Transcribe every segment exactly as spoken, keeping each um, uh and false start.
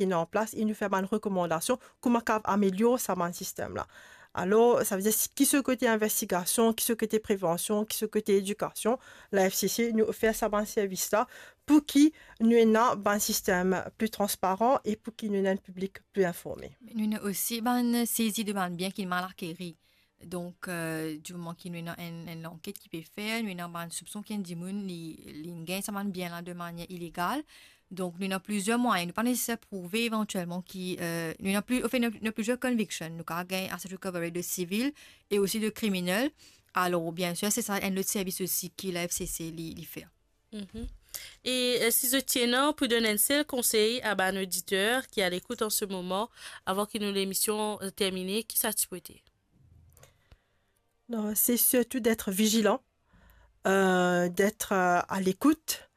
ena an plas e nou fer bann rekomandasion kouma kav amelior sa bann sistem la. Alor, savedir, si, ki so kote investigasion, ki so kote prevansion, ki so kote edikasion, la F C C, nou ofer sa bann servis la pou ki nou ena bann sistem pli transparan e pou ki nou ena enn piblik pli informe. Me nou ena osi bann sezi de bann bien ki mal akeri. Donk, euh, di moman ki nou ena enn, enn lanket ki pe fer, nou ena bann soupson ki enn dimoun li, li gagn sa bann bien la de manier ilegal. Donk, nou ena plizier mwayin. Nou pa neseser prouve evantielman ki, euh, nou ena pli, anfin, nou ena, nou ena plizier conviction. Nou kav gagn asset recovery de sivil e osi de kriminel. Alor, biensir, se sa enn lot servis osi ki la F C C li, li fer. Mhm. E, euh, si zot ti ena pou donn enn sel konsey a bann oditer ki a lekout an se moman, avan ki nou lemision, euh, termine, ki sa ti pou ete? Non, se sirtou d'être vigilan, euh, d'être, euh, à l'écoute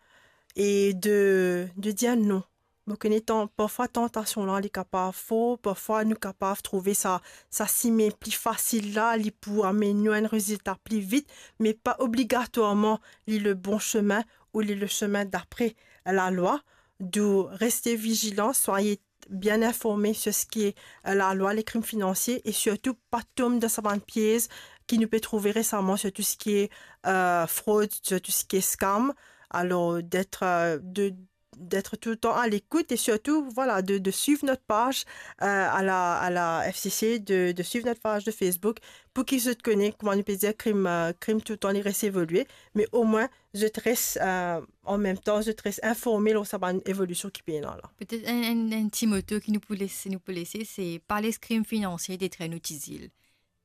et de, de dire non. Mo kone tan-, parfwa tantasion la, li kapav for, parfwa nou kapav trouve sa, sa simin pli fasil la, li pou amenn nou enn rezilta pli vit, me pa obligatwarman li le bon semin ou li le semin dapre lalwa. Donk, reste vigilan, soyez bien informe sur ce qui est, euh, lalwa, le krim finansie, e sirtou pa tom dan sa bann piez ki nou pe trouve resaman sur tout ce qui est, euh, frod, sur tout ce qui est scam. Alor, d'être, euh, de, d'être tout le temps à l'écoute et surtout, voilà, de, de suivre notre page, euh, à la, à la F C C, de, de suivre notre page de Facebook, pou ki zot kone, kouma nou pe dir, krim, euh, krim tout le temps, li res evolie, me omwin, zot res, euh, an mem tan, zot res informe lor sa bann evolision ki pe ena la. Petet enn, enn, enn ti moto ki nou pou les, nou pou lese, se pa les krim finansie detrir nou ti zil.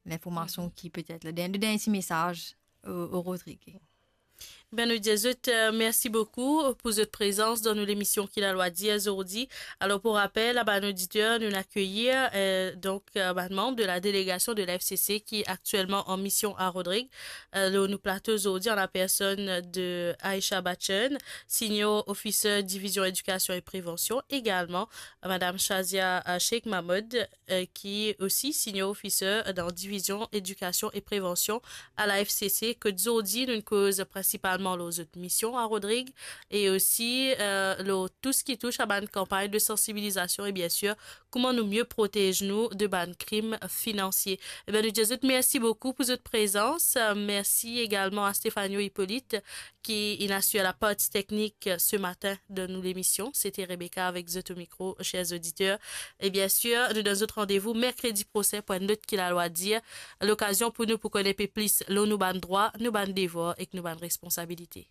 Linformasion ki petet la, dernie, dernie ti mesaz o, o Rodrig. Ben, nou dir zot, euh, mersi boukou pou zot prezans dan nou lemision Ki Lalwa Dir zordi. Alor, pou rapel, a bann oditer, nou akeyir, euh, donk, euh, bann manm de la delegasion de la F C C ki aktielman an mision a Rodrig, euh, lor nou plato zordi, an la personn de Aisha Bachchan, Senior Officer Divizion Edikasion e Prevansion, egalman, euh, Madam Shazia, euh, Sheikh Mahmoud, euh, ki osi Senior Officer dan Divizion Edikasion e Prevansion a la F C C, kot zordi nou koz prinsipalman lor zot mision a Rodrig e osi, euh, lor tou seki tous a bann kanpagn de sansibilizasion e, biensir, kouma nou mie protez nou de bann krim finansie. Eben, nou dir zot mersi boukou pou zot prezans. Euh, mersi egalman a Stefano Hippolyte, ki inn asir laparti teknik se matin dan nou lemision. Sete Rebecca avek zot o mikro, ser oditer. E biensir, nou donn zot randevou merkredi prosin pou enn lot Ki Lalwa Dir. Lokazion pou nou pou konn enpe plis lor nou bann drwa, nou bann devwar ek nou bann responsabilite.